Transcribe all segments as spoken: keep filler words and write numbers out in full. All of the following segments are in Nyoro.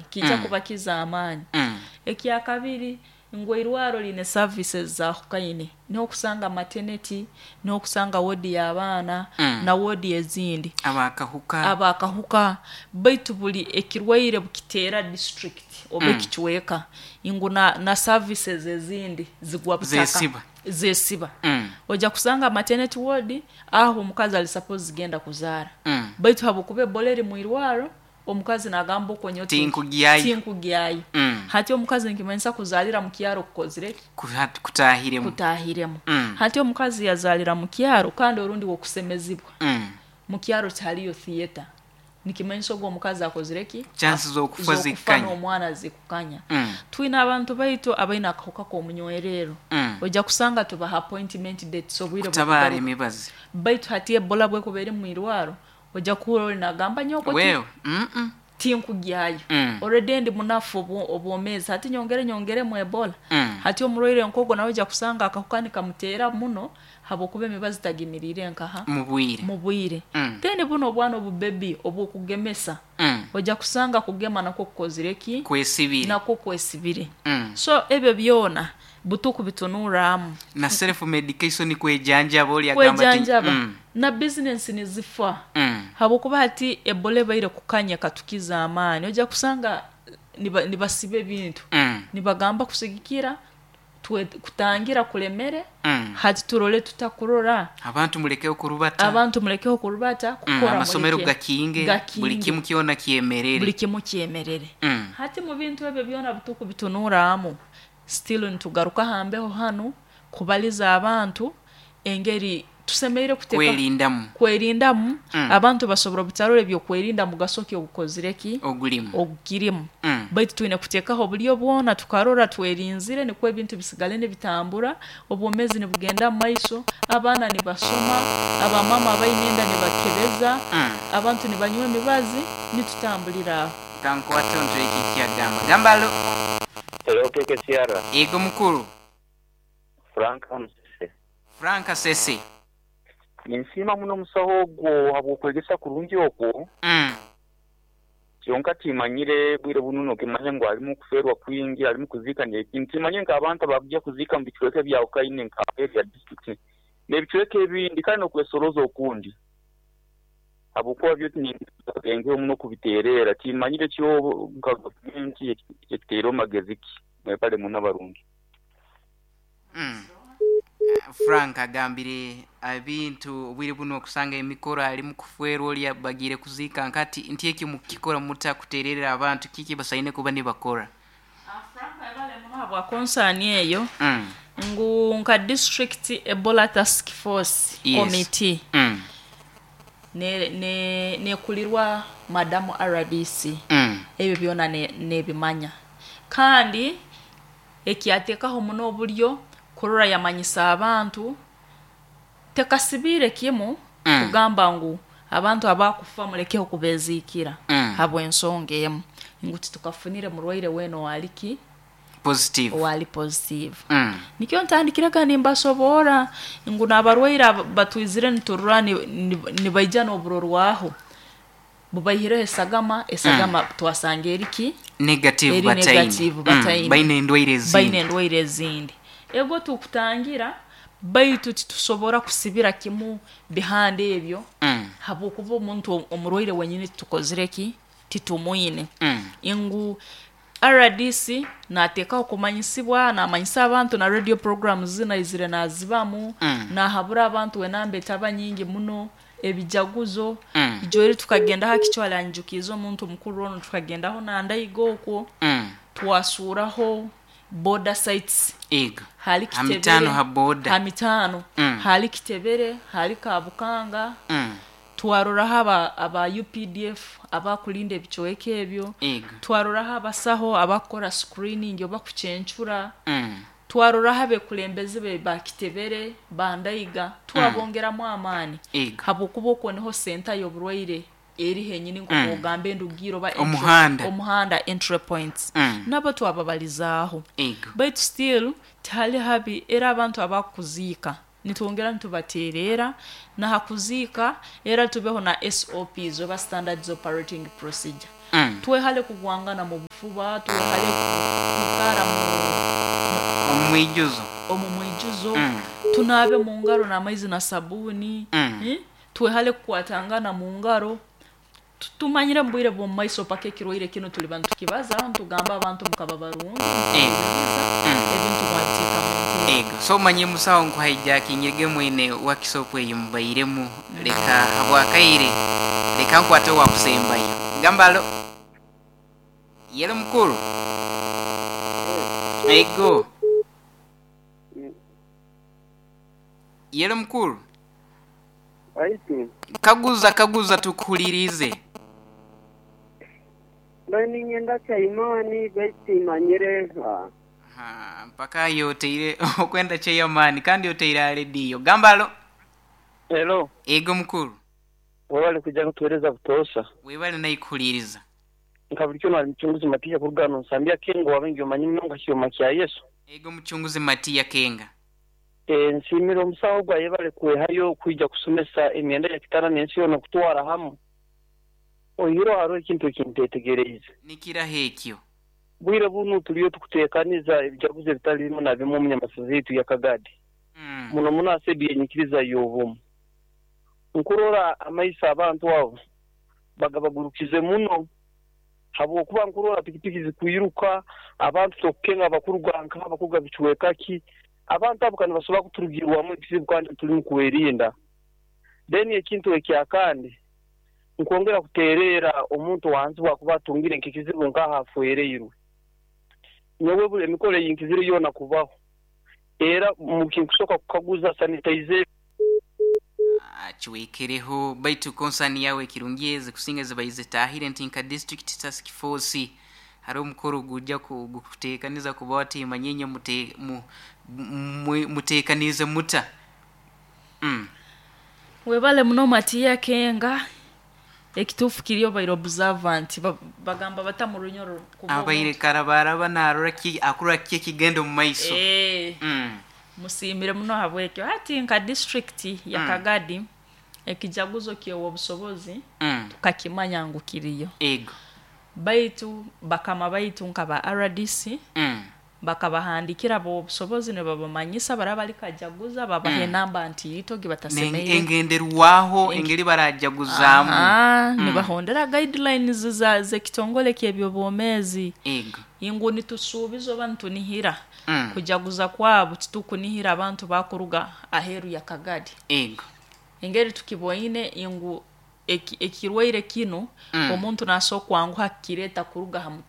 Kijja Mm. kubakiza amaani. Mm. Ekyakabiri, ngu eirwaro line services zahukaine, n'okusanga maternity, n'okusanga wodi y'abaana Mm. na wodi ezindi, abakahuka, abakahuka. Baitu buli ekirwaire bukiteera district oba Mm. ekicweka, ngu na, na services ezindi zigwa butaka, Zesiba. Zesiba. Mm. Ojja kusanga maternity ward aho omukazi ali suppose genda kuzaara, Mm. baitu habwokuba ebola eri mu irwaro, omukazi nagamba okonyo Tinkugyayo. Tinkugyayo. Mm. Hati omukazi nkimanyisa kuzaalira mu kyaro kukozire ki? Kuha- kutahiremu Kutahiremu. Mm. Hati omukazi yazaalira mu kyaro, kandi orundi wokusemezibwa Mm. mu kyaro tihaliyo theatre, nikimanyisa ogwo omukazi akozire ki? Chances z'okufa Z'okufa zikukanya. N'omwana zikukanya. Mm. Twine abantu baitu abaine akahuka k'omunywerero. Mm. Ojja kusanga tubaha appointment dates, obwire Kutabaara bw'okugaruka. Emibazi. Baitu hati ebola bwekuba eri mu irwaro, ojja kuhura ori nagamba, nyoko ti- Wewe Mm-mm. tinkugyayo. Mm. Already ndi munafu obwo- obwomezi, hati nyongere nyongeremu ebola. Mm. Hati omurwaire nkogwo nawe ojja kusanga akahuka nikamuteera muno habwokuba emibazi tagimiriire nkaha mu bwire. Mu bwire. Mm. Then buno obwana obubebi obwokugemesa, Mm. ojja kusanga kugema nakwo kukozire ki? Kwesibire. Nakwo kwesibire. Mm. So ebyo byona butuku bitunuramu. Na self medication, kwejanjaba, oli agamba ti Kwejanjaba. Mm. Na bizinensi nizifa, Mm. habwokuba hati ebola ebaire kukanya katukiza amaani, ojja kusanga niba- nibasiba ebintu, Mm. nibagamba kusigikira twe- kutangira kulemere. Mm. Hati turole tutakurora. Abantu mulekeho kurubata. Abantu mulekeho kurubata, Mm, kukora amasomero muleke. gakinge, Gakinge. Buli kimu kyona kyemerere. Buli kimu kyemerere. Mm. Hati mu bintu ebyo byona butuku bitunuramu, still nitugaruka hambeho hanu kubaliza abantu engeri tusemeire kuteeka kwerindamu. Kwerindamu. Mm. Abantu basobora obutarora ebyokwerinda mugaso ki ogukozire ki? Ogulimu. Ogukirimu. Mm. Baitu twine kuteekaho obulyo bwona tukarora twerinzire, nikwo ebintu bisigale nibitambura, obwomezi nibugenda mu maiso, abaana nibasoma, abamama abaine enda nibakebeza, Mm. abantu nibanywa emibazi, nitutambulira aho. Kankwate onto eki kyagamba gamba alo. Hello, K K C R. Ego mukuru. Frank Musese. Frank Sese. Ninsiima muno omusaho ogwo habw'okwegesa kurungi okwo. Mm. Kyonka timanyire bwire buno nokimanya ngu alimu kufeerwa kwingi, alimu kuziika n'ekintu. Timanye nk'abantu abakujja kuziika mu bicweka ebyawukaine nka area district n'ebicweka ebindi, kale n'okwesoroza okundi, habwokuba byo tinengeho muno kubiteereera. Timanyire kyo nka gavumenti ekiteereho magezi ki. Mwebale muno abarungi. Mm. Frank agambire ebintu obwire buno okusanga emikoro ali kuferwa, oli bagire kuziika nkati nti eki mukikora muta kutererera abantu kiki basaine kuba nibakora? Habwa concern eyo, mm. ngu nka district Ebola task force Yes. committee Mm. ne ne nekulirwa madamu R D C. Mm. Ebyo byona ne- nebimanya, kandi ekyateekaho muno obulyo kurora yamanyisa abantu, tekasibiire kimu Mm. kugamba ngu abantu abakufa mulekeho kubeziikira, Mm. habw'ensonga emu ngu titukafunire murwaire weena owaliki positive. Owali positive. Mm. Nikyo ntandikirega nimbasoboora ngu n'abarwaire aba- batwizire niturora ni- ni- nibaija n'oburorwaho bubaihireho esagama, esagama twasanga eriki? Negative. Eri Bataine. negative, Mm. bataine. Baine endwaire ezindi. Baine endwaire ezindi, ego tukutangira, baitu titusobora kusibira kimu bihanda ebyo, Mm. habwokuba omuntu omurwaire wenyini tukozire ki? Titumwine. Mm. Ngu R D C nateekaho kumanyisibwa, namanyisa abantu na radio programs zinaizire nazibamu, Mm. nahabura abantu wenamba etaba nyingi muno ebijaguzo. Mm. Ijoeri tukagendaho akichwala njukiza omuntu mukuru ono, tukagendaho nandaiga okwo, Mm. twasuraho border sites. Ego. Hali Ha Kitebere, mitano ha border. Ha mitano. Mm. Hali Kitebere, hali Kabukanga. Mm. Twaroraho aba, aba U P D F abakulinda ebicweka ebyo. Ego. Twaroraho abasaho abakora screening oba kucencura. Mm. Twaroraho abekulembeze be bakitebere, bandayiga, twabongeramu amaani, Ego. habwokuba okwo niho senta y'oburwaire eri henyini, nk'ogamba endugiro oba entry- Omuhanda. Omuhanda, entry points. Mm. Nabo twababalizaaho. Ego. Baitu still tihali habi, era abantu abakuziika nitwongera nitubateerera nahakuziika, era tubeho na S O Ps oba standards operating procedure. Mm. Twehale kugwangana mu bufuba, twehale kwikara mu Omwijuzo. Omu mwijuzo. Mm. Tunabe mu ngaro n'amaizi na sabuni. Mm. Eh? Twehale kukwatangana mu ngaro. Tu- tumanyire mu bwire bw'omu maiso paka ekirwaire kino tuli bantu tukibaza, tugamba abantu mukaba barungi, Ego. mukabaza, Mm. ebintu mwabiteeka mu nteeko. Ego. So manye musawo nkuhijacking mwine workshop eyo mubairemu, leka habwakaire, leka nkwate wakusembayo. Gambalo. Yelo mukuru. Ego. Yelo mukuru. Aitu. Kaguza kaguza tukuhulirize. Bani ngenda chaimani baitu manyire. Ha, mpaka yoteire okwenda chaimani kandi yoteire radio. Gambalo. Hello. Ego mukuru. Wabali kuja kutueleza kutosha. Webali naikuhuliriza. Nkabulikyo na mchunguzi Matia kurugano nsambia kengo wabengi omanyi munga kioma kya Yesu. Ego mchunguzi Matia Kenga. E, nsimira omusawo gwa yebale kwehayo kwija kusomesa emyenda ya kitana n'ensi yona kutwara hamu. Oyiro hariho ekintu ekintetegereize. Nikira hekyo. Bwire bunu tuliyo tukuteekaniza ebijaguzo ebitali bimu na bimu omu nyamasaza yaitu ya Kagadi. Mm. Muno muno asebye enyikiriza y'obumu. Nkurora amaiso abantu abo bagabagurukize muno habwokuba nkurora pikipiki zikwiruka abantu tokukenga abakuruga nka abakuruga bicweka ki abantu abo kandi basobola kuturugirwamu ekizibu kandi turi kwerinda. Then ekintu ekyakandi nkwongera kuterera omuntu wansi bwakuba atungire nk'ekizibu nk'ahafuereirwe. Nyowe buli emikoro eyinkizire yona kubaho era mukinkusoka kukaguza sanitizer Achiwekereho baitu konsani yawe kirungieze kusinga zibaize tahire nti nka district task force hari omukoro gujja kugukuteekaniza kuba wati manyenye mute, mu, mu, muteekanize muta. Mm. Webale muno Matia Kenga. Ekituufu kiriyo baire observant bagamba bata mu runyoro kuba Abaire omuntu. karabaraba narora ki akura ki ekigendo mu maiso. Eh. Mm. Musimire muno habwekyo ati nka district ya Mm. Kagadi ekijaguzo kyewa obusobozi Mm. tukakimanya ngu kiriyo. Ego. Baitu bakama baitu nka ba R D C Mm. bakabahandikira bo obusobozi ne babamanyisa baraba likajaguza babahe Mm. namba nti ito gibatasemeire. Engenderwaho Enge- engeri barajaguzaamu. Aha, Mm. nibahondera guidelines za zekitongole ky'ebyobwomeezi. Ego. Ingu nitusuubiza oba nitunihira. Mm. Kujaguza kwabo titukunihira abantu bakuruga aheru ya Kagadi. Ego. Engeri tukiboine ingu eki, ekirwaire kino Mm. omuntu naso kwanguha kireta kuruga hamu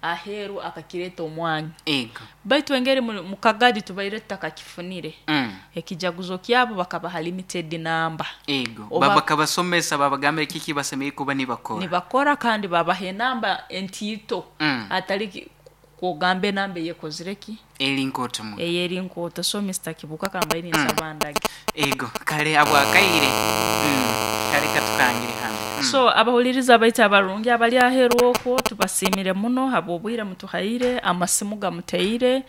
aheru akakireta omwanya. Ego. Baitu engeri mu Kagadi tubaire tutakakifunire. Mm. Ekijaguzo kyabo bakabaha limited number. Ego. Oba Baba kabasomesa babagambire kiki basemeye kuba nibakora. Nibakora kandi babaha enamba entito. Mm. Atali kugambe namba yekozireki. Eri nkoto mu. Eyeri nkoto. So Mister Kibuka kambaini Mm. nsabandage. Ego. Kale abwakaire. Mm. Kale katukangire hano. Mm. So abahuliriza baita abarungi abali aheru okwo tubasimire muno habwobwire mutuhaire amasimu gamuteire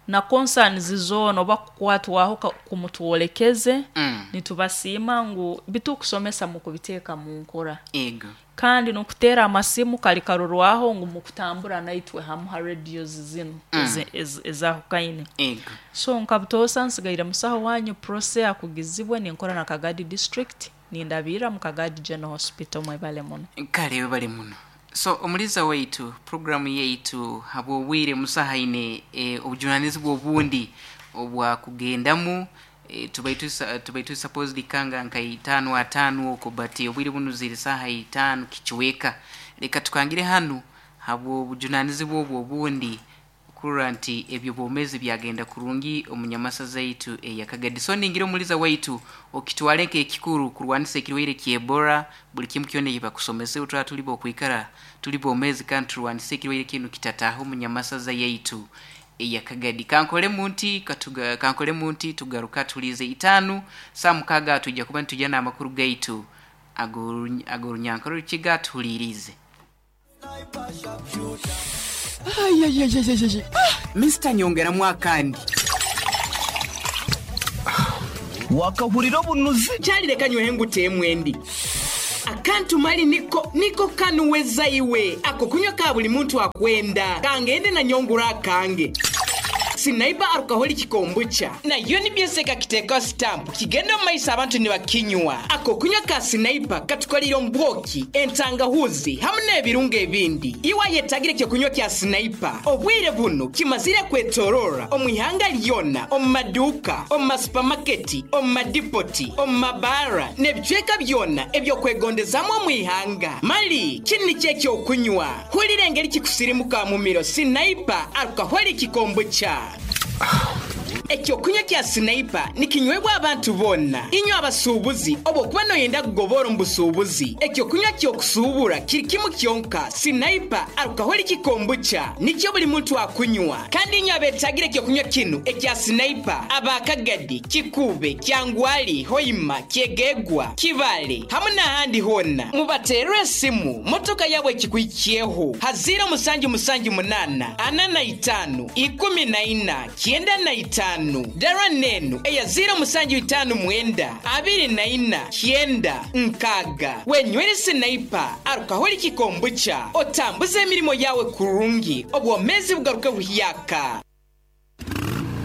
na concerns zona oba kukwatwaho kumutwolekeze. Mm. Nitubasiima ngu bitukusomesa mu kubiteeka mu nkora. Ego. Kandi nokutera amasimu kali karorwaho ngu mukutambura naitwe hamu ha radios zino Mm. ezahukaine. Ego. So nkabutosa nsigaire musaho wanyu prose akugizibwe ninkora na Kagadi district nindabira mu Kagadi General Hospital mwebale muno. Kale webale muno. So omuliza waitu programu yaitu habwobwire musahaine e, obujunanizibwa obundi obwa kugendamu e, tubaitu tubaitu supposed kanga nka itano atano oko but obwire buno ziri saha itano kichweka. Leka tukangire hanu habwo obujunanizibwa obwo obundi kurora nti ebyo bomezi byagenda kurungi omunyamasa zaitu eya Kagadi. So ningira omuliza waitu okitwaleke ekikuru kurwanisa ekirwaire kya Ebola buli kimu kyona ekibakusomese utwa tulibo okwikara tulibo omezi kandi turwanise ekirwaire kinu kitataho omunyamasa zaitu eya Kagadi. Kankole munti katuga kankole munti tugaruka tulize itanu saa mukaga tujja kuba ntujana amakuru gaitu agorunyankoro rukiga tulirize. Ay, ay, ay, ay, ay. Ah, Mister Nyongera mwakandi. Wakahurira obunuzi. Kyalireka nywehe nguteemwe ndi. Akantu mali niko niko kanuweza iwe ako kunywa ka buli muntu akwenda kangende na nyongura akange Sniper alcoholic kombucha nayo nibyeseka kiteka stamp kigenda mu maiso abantu nibakinywa. Ako kunywa ka Sniper katukolera ombwoki, entangahuzi hamwe n'ebirungo ebindi. Iwa yetagire kyo kunywa kya Sniper obwire buno kimazire kwetorora omu ihanga lyona, omu maduka, omu masupamaketi, omu madipoti, omu mabara n'ebicweka byona ebyokwegondezamu omu ihanga. Mali kini kyekyokunywa hulira engeri kikusirimuka mu miro. Sniper alcoholic kombucha. Ekyokunywa kya Sniper nikinywebwa abantu bonna. Inywa abasuubuzi oba okuba noyenda kugobora omu busuubuzi, ekyokunywa kyokusuubura kiri kimu kyonka. Sniper alcoholic kombucha nikyo buli muntu akunywa. Kandi inywa abetagire ekyokunywa kinu ekya Sniper abakagadi, Kikube, Kyangwali, Hoima, Kyegegwa, Kibale hamwe n'ahandi hona, mubaterere esimu motoka yabwe ekikwikiyeho ha ziro musanju musanju munana ana na itaano ikumi na ina kyenda na itaano. Dara nenu eya ziro musanju itaano mwenda abiri na ina kyenda nkaga. Wenywere Sniper alcoholic kombucha otambuze emirimo yawe kurungi, obwomezi bugaruke buhyaka.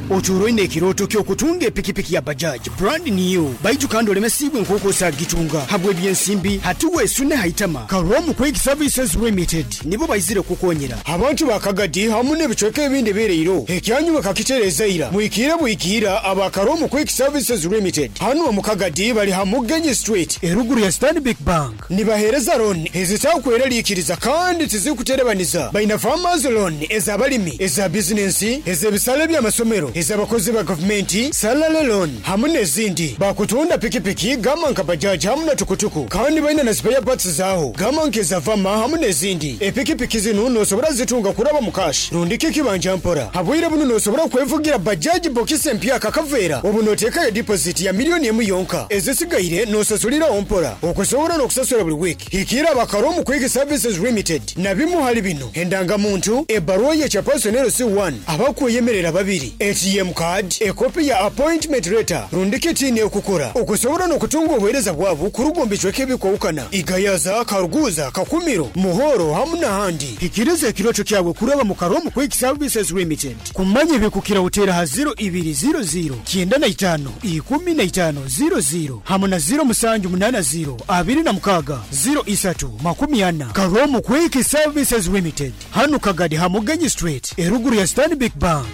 Oturoine ekiroto ky'okutunga epikipiki ya Bajaj brand new, baitu kandi olemesibwe nk'okosa gitunga habwe ebyensimbi hatuwe esune haitama. Karomu Quick Services Limited nibo baizire kukonyera abantu bakagadi hamu n'ebicweka ebindi bireiro ekyanyu bakakitereza ira mwikire bwikira. Aba Karomu Quick Services Limited hano mu Kagadi bali Hamugenyi Street eruguru ya Stanbic Bank. Nibahereza loan ezitakweralikiriza kandi tizikuterebaniza. Baina farmers loan ez'abalimi, eza bizinensi, ez'ebisale by'amasomero, ez'abakozi ba gavumenti, salary loan hamwe n'ezindi. Bakutunda pikipiki gama nka bajaji hamwe na tukutuku, kandi baina na spare parts zaho gama nkeza vama hamwe n'ezindi. Epikipiki zino nosobora zitunga kuraba mu cash rundiki kibanja mpora. Habwire buno nosobora kwevugira bajaji bokisi empya kakavera obu notekayo deposit ya miliyoni emu yonka, ezisigaire nosasulira mpora okusobora n'okusasula buli wiki. Hikira abakaromu Quick Services Limited na bimu hali bino: endangamuntu, ebaruwa ye personnel C one, abakweyemerera babiri, A T M card, ekopi ya appointment letter, rundiki tini okukora okusobora n'okutunga obuheereza bwabo kurugomba icweka ebikwawukana Igayaza, Karuguza, Kakumiro, Muhoro hamwe n'ahandi. Hikiriza ekiroto kyawe kuraba mu Karomu Quick Services Limited. Kumanya ebikukira utera ha ziro ibiri ziro ziro kyenda na itaano ikumi na itaano ziro ziro hamwe na ziro musanju munana ziro abiri na mukaga ziro isatu makumi ana. Karomu Quick Services Limited hano Kagadi Hamugenyi Street eruguru ya Stanbic Bank.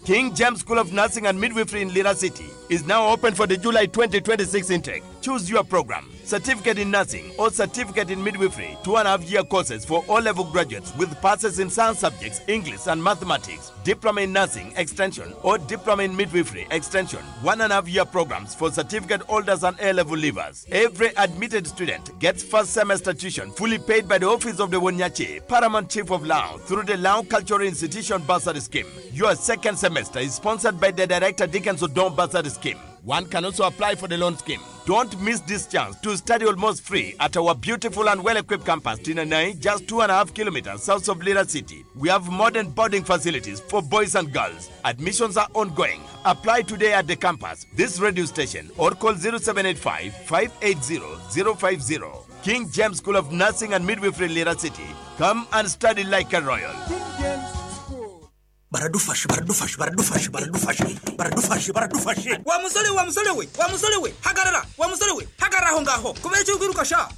King James School of Nursing and Midwifery in Lira City is now open for the July twenty twenty-six intake. Choose your program: Certificate in Nursing or Certificate in Midwifery, two and a half year courses for all-level graduates with passes in science subjects, English and Mathematics, Diploma in Nursing Extension or Diploma in Midwifery Extension, one and a half year programs for certificate holders and A-level leavers. Every admitted student gets first semester tuition fully paid by the Office of the Wonyachi, Paramount Chief of Lao, through the Lao Cultural Institution Bursary Scheme. Your second semester is sponsored by the Director Dickens Odon Bursary Scheme. One can also apply for the loan scheme. Don't miss this chance to study almost free at our beautiful and well-equipped campus, Tinanai, just two and a half kilometers south of Lira City. We have modern boarding facilities for boys and girls. Admissions are ongoing. Apply today at the campus, this radio station, or call zero seven eight five, five eight zero, zero five zero. King James School of Nursing and Midwifery, Lira City. Come and study like a royal. Baradufashe, baradufashe, baradufashe, baradufashe, baradufashe, baradufashe. Wa musore, wa musore we, wa musore we, hagarara, wa musore we, hagarara aho ngaho. Kubera icyo kwiruka sha?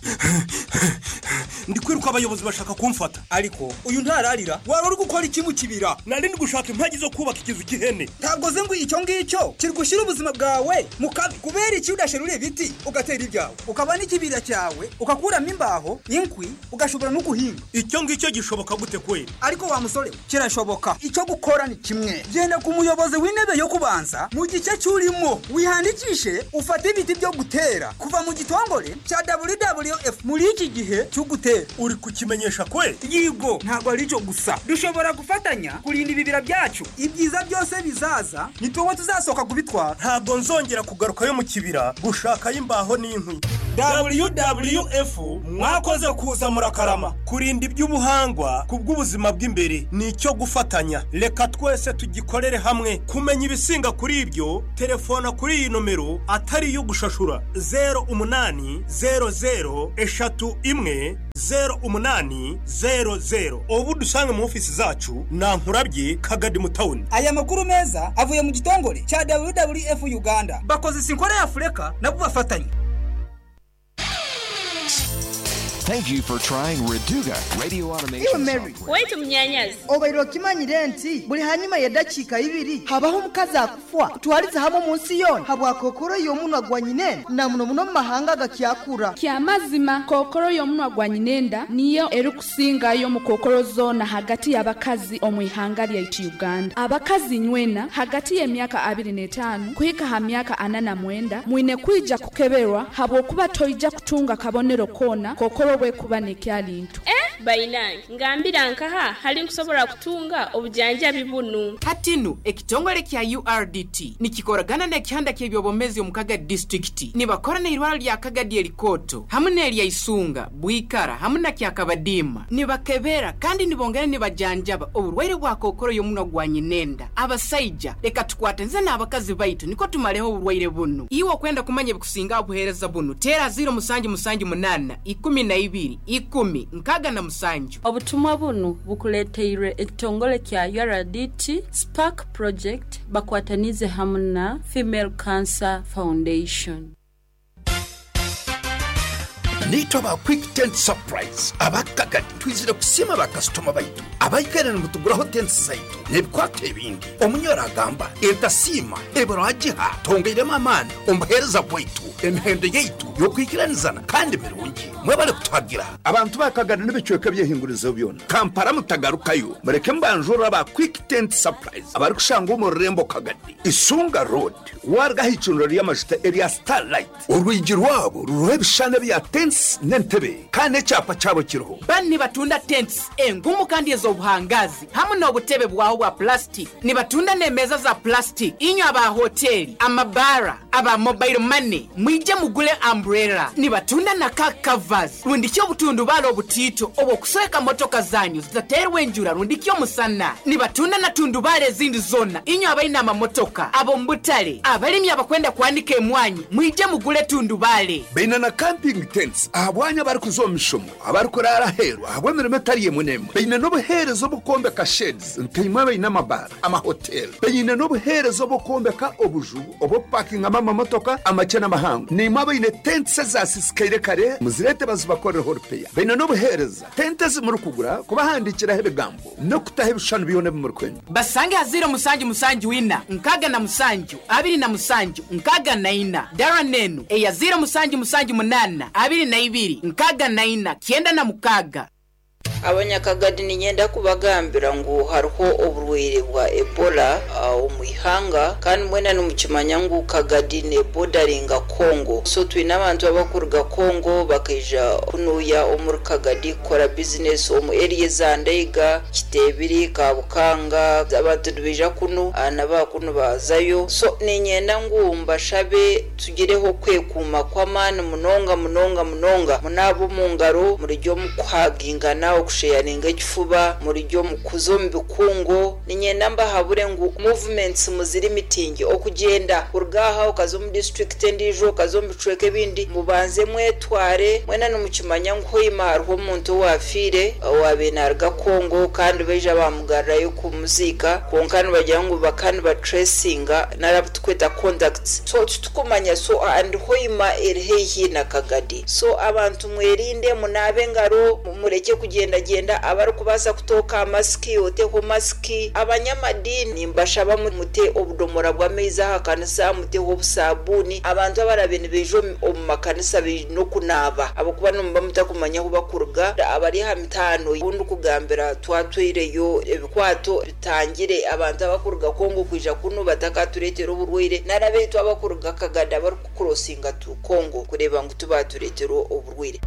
Ndi kwiruka abayobozi bashaka kumfata. Ariko uyu ntararira, wari uri gukora iki mu kibira? Nari ndi gushaka impagi zo kubaka ikizu cy'ihene. Ntabwo ze ngo icyo ngicyo kiri gushyira ubuzima bwawe mu kabi. Kubera iki udasherura ibiti ugatera ibyawe, ukaba n'ikibira cyawe, ukakuramo imbaho, inkwi, ugashobora no guhinga. Icyo ngicyo gishoboka gute kweli? Ariko wa musore we, kirashoboka. Icyo gukora ni kimwe, genda ku muyobozi w'intebe yo kubanza mu gice cy'urimo, wihandikishe ufate ibiti byo gutera kuva mu gitongore cya W W F muri iki gihe cyo gutera. Uri Uri kukimenyesha kwe? Yigo, ntabwo ari cyo gusa, dushobora gufatanya kurinda ibibira byacu. Ibyiza byose bizaza ni tuwe tuzasohoka kubitwara. Ntabwo nzongera kugarukayo mu kibira gushakayo imbaho n'inkwi. W W F, mwakoze kuza, murakarama. Kurinda iby'ubuhangwa ku bw'ubuzima bw'imbere ni icyo gufatanya. Reka twese tugikorere hamwe. Kumenya ibisinga kuri ibyo, telefona kuri iyi nomero atari iyo gushashura: zero umunani zero zero eshatu imwe zero umunani zero zero. Ubu dusange mu ofisi zacu na Nkurabye Kagadi mu tawuni. Aya makuru meza avuye mu gitongore cya W W F Uganda, bakoze sinkora ya Afurika nabo bafatanye. Thank you for trying Reduga Radio Automation Iwe Mary. Software. Waitu mnyanyazi. Obaire okimanyire nti buli hanyuma y'eddakiika ibiri habaho omukazi akufa kutwaliza hamwe mu nsi yona habwa kokoro y'omunwa gwa nyinenda, na muno muno mu mahanga gakyakura. Kyamazima, kookolo y'omunwa gwa nyinenda niyo erikusingayo mu kookolo zoona hagati y'abakazi omu ihanga lyaitu Uganda. Abakazi nywena hagati y'emyaka abiri n'etaano kuhika ha myaka ana na mwenda mwine kwija kukeberwa, habwokuba toija kutunga kabonero koona kookolo bwekuba nekyalintu. Eh, bainange, ngambira nkaha hali nkusobola kutunga obujanjabi bunu? Hatinu ekitongole kya U R D T nikikoragana n'ekihanda ky'ebyobomezi omu Kagadi disitulikiti, nibakora n'eirwaro lya Kagadi erikoto hamwe n'erya Isunga, Bwikara hamwe na Kyakabadiima. Nibakebera kandi nibongera nibajanjaba oburwaire bwa kokoro y'omunwa gwa nyinenda. Abasaija, leka tukwatanze n'abakazi baitu niko tumaleho oburwaire bunu. Iwe okwenda kumanya ebikusinga obuheereza bunu, teera ziro musanju musanju munaana ikumi na ibiri ikumi nkaaga na musanju. Obutumwa bunu bukuleteirwe ekitongole kya U R D T Spark Project, bakwatanize hamwe na Female Cancer Foundation. Nitwa ba Quick Tent Surprise abakagadi. Twizire kusiima bakasitoma baitu abaikaire nimutuguraho tents zaitu n'ebikwato ebindi. Omunyoro agamba etasiima eburagiha. Tongeiremu amaani omubuheereza bwaitu, emihendo yaitu y'okwikiranizana kandi mirungi. Mwebale kutwagira abantu bakagadi n'ebicweka byehingurizo byona. Kampala mutagarukayo, mureke mbanjura ba Quick Tent Surprise abari kushanga omu rurembo Kagadi, Isunga Road, wargaho icundiro ry'amajuta erya Starlight. Orwigi rwabo ruriho ebishushani bya tents n'entebe, kandi ekyapa kyabo kiriho. Bani nibatunda tents engumu kandi ez'obuhangazi hamwe n'obutebe bwaho bwa plastic. Nibatunda n'emeza za plastic. Inywe aba hoteli, amabara, aba mobile money, mwije mugule umbrella. Nibatunda na car covers rundiki obutundubaala obutiito obw'okusweka motoka zanyu zitateerwa enjura rundiki omusana. Nibatunda na tundubaala ezindi zonna. Inywe abalina amamotoka, ab'omu butale, abalimi abakwenda kwanika emwanyi, mwije mugule tundubaale. Baina na camping tents ahabwanya abarikuza omu mishomo, abarikurara aheeru ahabw'emirimo etari emwe n'emwe. Baine n'obuheereza obukwombeka sheds nkaimwe abaine amabara, amahoteli. Baine n'obuheereza obukwombeka obuju obw'okupakingamu amamotoka amakye n'amahango. Nimwe abaine tents ezasisikaire kare, muzirete bazibakorereho repair. Baine n'obuheereza tente ezimurikugura kubahandikiraho ebigambo n'okutaho ebishushani byona ebimurikwenda. Basange ha ziro musanju musanju ina nkaaga na musanju abiri na musanju nkaaga na ina. Dara nenu eya ziro musanju musanju munaana abiri na ibiri nkaaga na ina kyenda na mukaaga. Abanyakagadi, ninyenda kubagambira ngu hariho oburwaire bwa Ebola uh, omu ihanga, kandi mwena nimukimanya ngu Kagadi nebodaringa Congo. So twine abantu abakuruga Congo bakaija kunuya omuri Kagadi kukora bizinesi omu area za Ndeiga, Kitebiri, Kabukanga. Abantu nibaija kunu uh, nabakunu bazayo. So ninyenda ngu mbashabe tugireho kwekuuma kw'amaani munonga munonga munonga. Munaaba omu ngaro, murijyo omu kuhagingana, okusheyaringa ekifuba, murijyo mu kuza omu bikungo. Ninyenda mbahabure ngu movements muziri mitingi, okugyenda kuruga aha okaza omu district endiijo, okaza omu bicweka ebindi, mubanze mwetware. Mwena nimukimanya ngu hoima hariho omuntu owafiire owabiire naruga Congo, kandi baija bamugarurayo kumuziika, kwonka nibagira ngu bakandi batracinga narabu tukweta contacts, so titukumanya. So and Hoima eri haihi na Kagadi, so abantu mwerinde, munaabe engaro, mureke kugendagenda. Abarikubaasa kutooka masiki, oteho masiki. Abanyamadini mbashaba mute obudomora bw'amaizi aha kanisa, muteho obusabuni. Abantu abarabe nibaija omu makanisa baine okunaaba, ahabwokuba nimuba mutakumanya ahu bakuruga. Abari aha mitaano obundi kugambira twatwireyo ebikwato bitangire abantu abakuruga Kongo kwija kunu batakatureetera oburwaire, narabeitu abakuruga Kagadi abarikukurosinga tu Kongo kureba ngu tubatureetera oburwaire.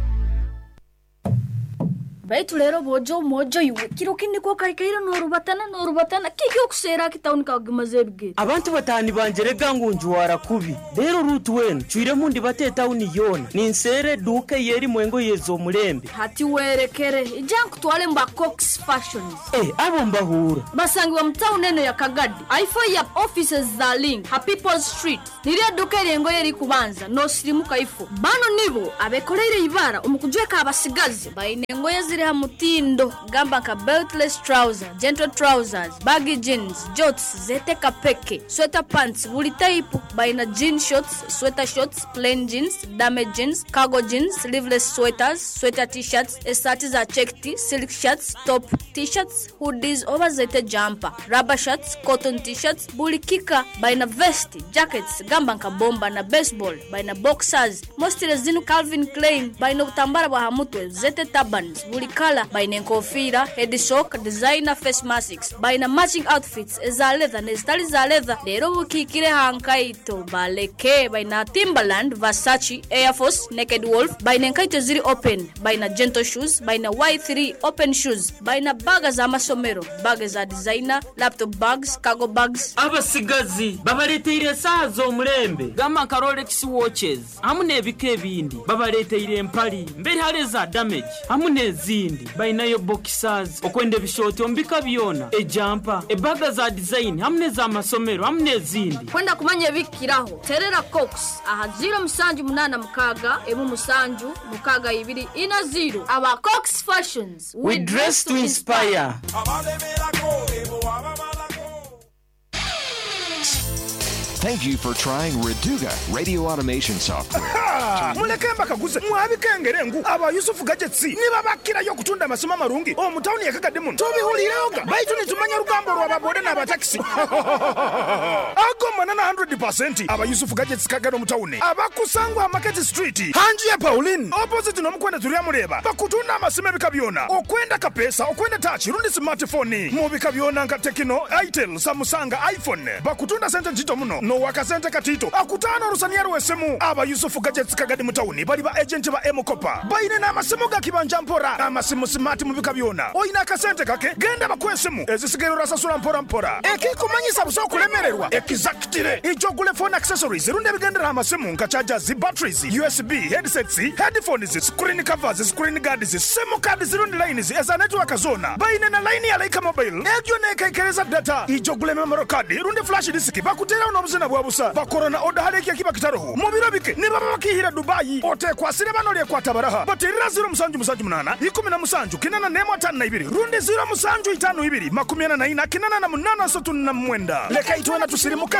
Baitu lero bojo mojo iwe kiro kindi ko kaikaira norubatana norubatana kiki okusera kitawuni kagimaze ebigere. Abantu batani banjerega ngu njuwara kubi. Rero Ruth wenu chwire mundi bate tawuni yona. Ninsere duka yeri mwengo yezo mulembe. Hati werekere ija nkutwale mba Cox Fashions. Eh, abo mbahura. Basangwa mtawuni eno ya Kagadi. Aifo ya offices za Link, ha People's Street. Niria duka yengo yeri kubanza no sirimuka ifo. Bano nibo abekoleire ibara umukujweka abasigazi baine ngoye ziri ha mutindo gamba ka beltless trouser, gentle trousers, baggy jeans, jorts zete kapeke, sweater pants buli type, baina jean shorts, sweater shorts, plain jeans, damage jeans, cargo jeans, sleeveless sweaters, sweater t-shirts, esati za checked, silk shirts, top t-shirts, hoodies over zete jumper, rubber shirts, cotton t-shirts, buli kika, baina vest, jackets, gamba nka bomba na baseball, baina boxers, mostly zinu Calvin Klein, baina obutambara bwa hamutwe, zete turbans, buli kala, baina enkofira, head sock, designer face masks, baina matching outfits eza leather nezitali za leather. Lero bukikire hankaito baleke, baina Timberland, Versace, Air Force, Naked Wolf, baina enkaito ziri open, baina gentle shoes, baina Y three open shoes, baina baga za masomero, baga za designer, laptop bags, cargo bags. Abasigazi babaleteire esaha z'omulembe gamba nka Rolex watches hamu n'ebika ebindi, babaleteire empali mberi hali eza damage hamu n'ezindi, bainayo boxers okwenda ebishoti ombika byona, ejampa, ebaga za design hamu n'ez'amasomero hamu n'ezindi. Kwenda kumanya ebikiraho terera Cox aha zero musanju munana mukaga emu musanju mukaga ibiri ina zero. Aba Cox Fashions, we dress to inspire. Thank you for trying Reduga radio automation software. Muleke mbakaguze mwabikengere ngu aba Yusufu Gadgets nibabakirayo kutunda amasomo amarungi omu tawuni ya Kagadi muno tubihulireoga baitu nitumanya rugambo rw'ababode n'abatakisi ago manana one hundred percent aba Yusufu Gadgets Kagadi omu tawuni abakusangwa Market Street hanji ya Pauline opposite n'omukwenda turiya mureba bakutunda amasimu ebika byona okwenda kapesa okwenda touch rundi smartphone mu bika byona nka Tecno, Itel, Samsung, iPhone bakutunda sente ntito muno no wakasente katito akutano rusaniero wesemu aba Yusufu Gadgets Kagadi mutawuni bali ba agent ba M-Kopa baine na amasimu ga kibanja mpora amasimu smart mu bika byona oyina akasente kake genda bakwesemu ezisigero rasasura mpora mpora ekikumanyisa buso kulemererwa exactly ijogule phone accessories runde bigendera amasimu nka chargers, batteries, U S B, headsets, headphones, screen covers, screen guards, SIM cards rundi lines eza network zona baine na line ya Laika Mobile egyo nekekereza data ijogule memory card rundi flash disk bakutera n'obuzina bwabusa bakorona oda haleki akiba kitaroho mu biro bike nibaba bakihira Dubai otekwasire bano lyekwata baraha baterera zero musanju musanju munana ikumi na musanju kinana nemo atano na ibiri rundi zero musanju itano ibiri makumi ana na ina kinana na munana asatu na mwenda leka itwena tusirimuke.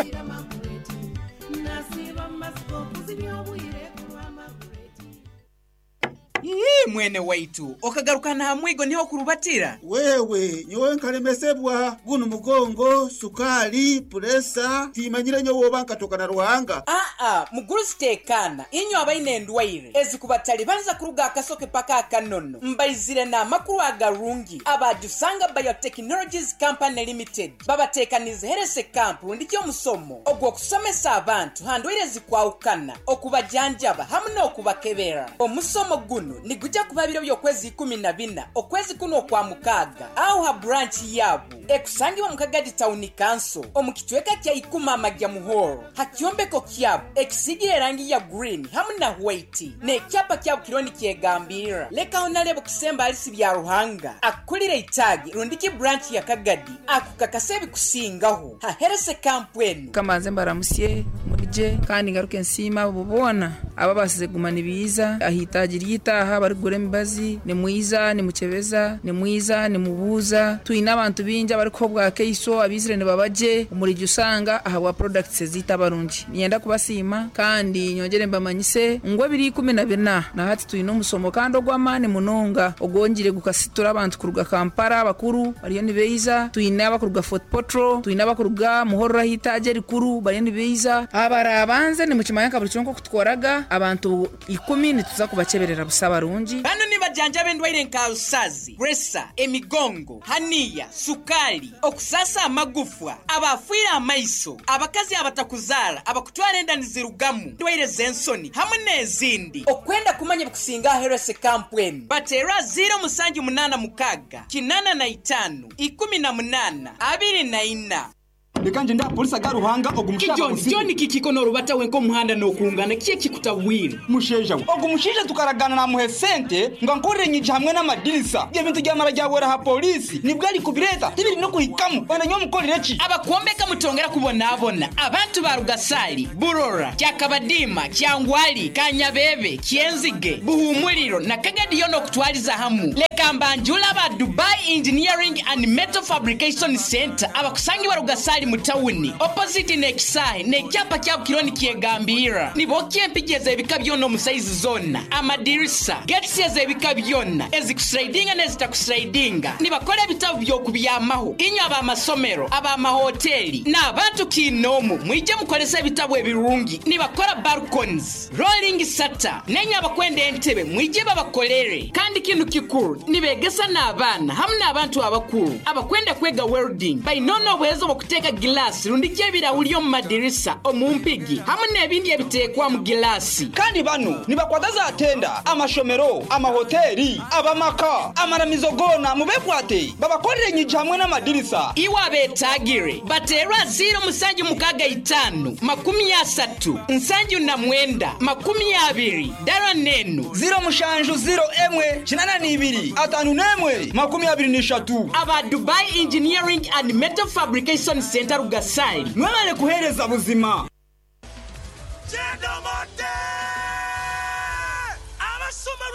Ii mwene waitu okagarukana hamwigo niho kurubatira. Wewe nyowe nkalemesebwa guno mugongo sukali puresa timanyire nyowe oba nkatoka na ruhanga. A a muguru sitekana inyo abaine endwaire ezikubatali banza kuruga akasoke paka akanono mbaizire na makuru agarungi abajusanga Biotechnologies Company Limited babatekanize herese camp ndikyo musomo ogwo kusomesa abantu handwaire zikwaukana okubajanjaba hamwe n'okubakebera. Omusomo guno niguja kubabiro by'okwezi ikumi na bina okwezi kuno kwa mukaga au ha branch yabo ekusangibwa mu Kagadi Town Council omukitweka kya ikuma amagya muhoro hakyombeko kyabo ekisigire rangi ya green hamwe na white ne kyapa kyabo kironi kyegambira leka onalebo kusemba alisi bya ruhanga akulire itagi rundiki branch ya Kagadi akukakase bikusingaho ha herese camp enu kamanze mbaramusye murije kandi ngaruke nsima bubona ababasize gumana ibiza ahitaji ryitaha bari gure mibazi ni mwiza ni mukebeza ni mwiza ni mubuza tuina abantu binja bari ko bwa keiso abizire ne babaje umurije usanga aha wa products zita barungi nyenda kubasima kandi nyongere mbamanyise ngo biri ikumi na bina na hati tuina umusomo kandi ogwamane munonga ogongire gukasitura abantu kuruga Kampala bakuru bariyo ni beiza tuina abakuruga Fort Potro tuina abakuruga Muhorra hitaje rikuru bariyo ni beiza. Abarabanze nimukimanya nka buli kiro nk'okutukoraga abantu ikumi nituza kubaceberera busa barungi. Bano nibajanjaba endwaire nka rusazi, presa, emigongo, haniya, sukali, okusasa amagufwa, abafiire amaiso, abakazi abatakuzaara, abakutwara enda nizirugamu, ndwaire z'ensoni hamwe n'ezindi. Okwenda kumanya bikusinga aherese kampweni bateera ziro musanju munaana mukaaga kinana na itaano ikumi na munaana abiri na ina. Reka nje ndapolisi aga Ruhanga ogu mushaija John, musibe. John kikiko n'orubata wenka omuhanda n'okungana ki ekikutabwire? Musheija we ogu mushaija tukaragana namuhe sente nga nkorere nyiji hamwe n'amadirisa, ebintu byamara byawera ha polisi nibwo ari kubireta tibiri no kuhikamu wenda nyowe mukorere ki? Abakuombeka mutongera kubonaabona abantu ba Rugasali, Burora, Kyakabadima, Kyangwali, Kanyabebe, Kyenzige, Buhumuriro na Kagadi yona okutwaliza hamu. Leka mbanjula ba Dubai Engineering and Metal Fabrication Center abakusangibwa Rugasali mu tawuni opposite n'ekisahe n'ekyapa kya Bukironi kyegambira nibokya empigi ez'ebika byona omu saizi zona, amadirisa, getsi ez'ebika byona ezikuslidinga n'ezitakuslidinga. Nibakora ebitabo by'okubyamaho inywe ab'amasomero, ab'amahoteli n'abantu kiinoomu, mwije mukolesa ebitabo ebirungi. Nibakora balconies, rolling shutter, nenye abakwenda entebe mwije babakolere. Kandi kinu kikuru nibegesa n'abaana hamwe n'abantu abakuru abakwenda kwega welding bainona obuhezo bw'okuteeka gilasi rundi ky'ebirahuri omu madirisa, omu mpigi hamwe n'ebindi ebiteekwa mu gilasi. Kandi bano nibakwata za tenda, amashomero, amahoteli, abamaka, amaramizo gona mubekwate babakorere enyigi hamwe n'amadirisa. Iwe abetagire baterwa ziro musanju mukaga itanu makumi asatu nsanju na mwenda makumi abiri dara nenu ziro mushanju ziro emwe kinana n'ibiri atanu n'emwe makumi abiri n'ishatu. Aba Dubai Engineering and Metal Fabrication Center Rugasali mwebale kuhereza buzima. Abasoma